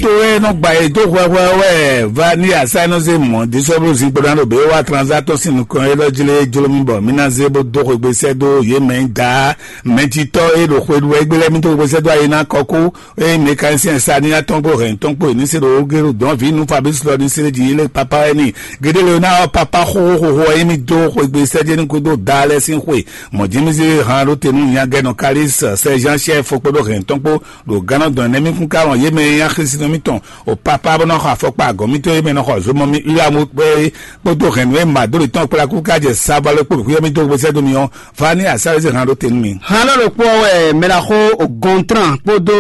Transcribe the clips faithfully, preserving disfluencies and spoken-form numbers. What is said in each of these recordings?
To e nɔ gba yě dó hwɛhwɛ wɛ va ní asá e nɔ zé mɔ̌ dísɔ́blú zinkpo ná ɖo bě wá tranzá tɔn sín nukɔn élɔ́ jlé jló mì bɔ mì ná zé bó dó xwegbe sɛ́ dó yě mɛ e da mɛjitɔ́ e ɖo xwe ɖu wɛ é gbé lɛ́ɛ mì dó xwegbe sɛ́ dó ayi ná kɔkú. Eye mɛkanisɛn sa ní atɔ́n kpó hɛn tɔn kpó ní se ɖo gelu dɔn vǐ nú Fabrice lɔ ní se ɖe jí lé papa wɛ ni. Gédé le ná ɔ papa xóxóxó ɔ́ émí dó xwegbe sɛ́jɛ́nú kúdó da lɛ́ɛ sín xwe. Mɔ̌ jí mí zé han ɖó te nú nyagɛnɔ Kalis sɛ Jean chef kpódó hɛn tɔn kpó ɖo gánɔ dɔn nɛ́ mí kún ká wɔn yě mɛ e nyí axisínɔ mítɔn o papa bó nɔ xɔ afɔkpa agɔ̌ mítɔn e mɛ nɔ xɔ zomɔ mì Ulamu kpé kpódó hɛ̌nnu e Madoli tɔn kplá kú ká jɛ Savalo kpó ɖo xwíyɔ́ mítɔn gbèsè dó mi ɔ́, Vani Asálezé hɛn ɖó te nú mi. Hannɔ ɖokpó ɔ́ wɛ mɛ ná xó o Gontran kpódó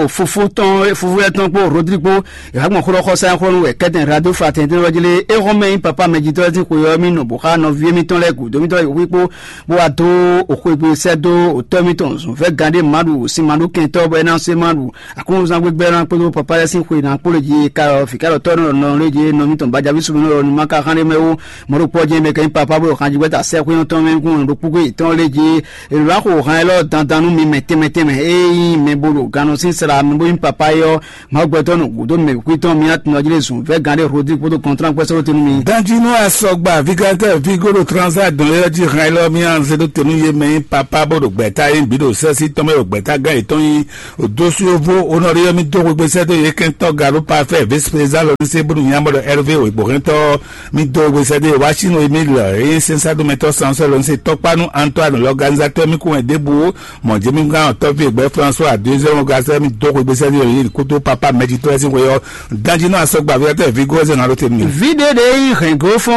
o fúfú tɔn fúfú lɛ́ɛ tɔn kpó Rodrigo. Ìhàgbɔn xó ɖɔ xɔsá xó nú wɛ kɛ́tɛn radio fraternité lɔ jí lé é xɔ́n mɛ nyí papa mɛjitɔ́ sín xwe ɔ́ mì nɔ bó xá nɔví émítɔn lɛ́ɛ gǔdo mítɔn lɛ́ɛ wíkpó bó wá dó o xwegbe sɛ́ dó o tɔ́ mítɔn zɔ̌nfɛ́ gǎn ɖé Maɖu o sin Maɖu kɛntɔ́ bɔ é ná se Maɖu. Aklúnɔzán gbígbɛ́ ná kpódó papa lɛ́ɛ sín xwe ná kpó lě jí ka ɔ fǐkálɔtɔ́ nɔ nɔ lě jí nɔ mítɔn bajaví sumínɔ ɔ́ nu má ka xán ɖé mɛ ó. Mɔ̌ ɖokpó ɔ́ jɛ́n mɛ kɛ nyí papa bó ɖo xanjígbɛ́ta sɛ́xwé ɔ́ tɔn mɛ kún ɖo kpúkú yětɔn lě jí. È lǒ ná xo hán élɔ́ dandan nú mi mɛ tɛnmɛ tɛnmɛ e nyí mɛ bo ɖo gannɔ sín sla mɛ bó nyí papa é ɔ́, Mawu gbɛtɔ́ nɔ gǔdo mɛ kwítɔ́ mì ná tunɔ jí lé zun vɛ́ gán ɖé Rodrigue kpódó kɔntrán kpɛ́ sɔ́ tɛn nú mi. Danjínú asɔgba Vigatɛ́ Vigo ɖo Transa dɔn yɔ́ jí hán élɔ́ mì anze ɖó tenu yé mɛ nyí papa bó ɖo gbɛ̌ta yé bǐ ɖo sɛ́sí tɔn mɛ ɖo gbɛ̌ta gán yětɔn nyí. Dósúyóvó onɔɖé ɔ́ mì dó xwegbe sɛ́ dó yě kɛntɔ́ Gaɖó Parfait vice-président lɔ ní sé bónú nyamɔ ɖɔ Hervé wěgbóhɛntɔ́ mì dó xwegbe sɛ́ dó yě wá Chine Emile e nyí sɛnsádómɛtɔ́ sansɔ́ lɔ ní sé tɔkpá nú Antoine l'organisateur mì kún wɛ ɖěbǔ mɔ̌ jɛ mì gán tɔ́ví egbɛ́ François deuxième organisé mì dó xwegbe sɛ́ dó yě kótó papa mɛjitɔ́ sín xwe ɔ́. Danjínú asɔgba Vigatɛ́ Vigo ɔ́ zé ná ɖó te nú mi. Vǐ ɖé ɖě nyí hɛ̌nglófɔ́n